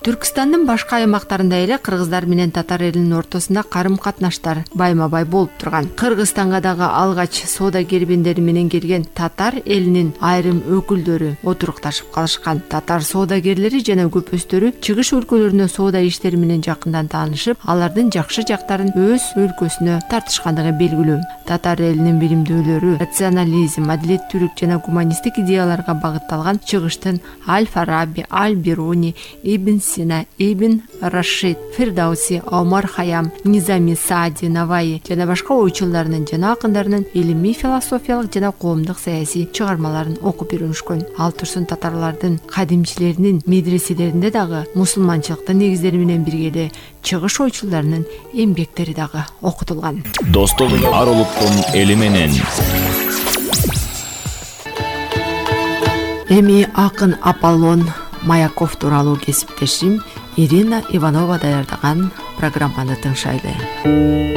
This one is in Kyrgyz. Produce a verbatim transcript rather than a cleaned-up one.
Түркстандын башка аймактарында эле кыргыздар менен татар элинин ортосунда карым-катнаштар байма-бай болуп турган. Кыргызстанга дагы алгач соода кербендери менен келген татар элинин айрым өкүлдөрү отурукташып калышкан. Татар соодагерлери жана көпөстөрү чыгыш өлкөлөрүнө соода иштери менен жакындан таанышып, алардын жакшы жактарын өз өлкөсүнө тартышкандыгы белгилүү. Татар элинин билимдүүлөрү рационализм, адилеттүүлүк жана гуманисттик идеяларга багытталган чыгыштын Аль-Фараби, Аль-Бируни, Ибн Сина, Ибн Рашид, Фирдауси, Омар Хаям, Низами, Саади, Наваи жана башка ойчулдарынын жана акындарынын илимий, философиялык жана коомдук саясий чыгармаларын окуп үйрөнүшкөн. Ал турсун татарлардын кадимчилеринин медреселеринде дагы мусулманчылыктын негиздери менен бирге эле чыгыш ойчулдарынын эмгектери дагы окутулган. Достук ар улуттун эли менен. Эми акын Аполлон Маяков тууралуу кесиптешим Ирина Иванова даярдаган программаны тыңшайлы.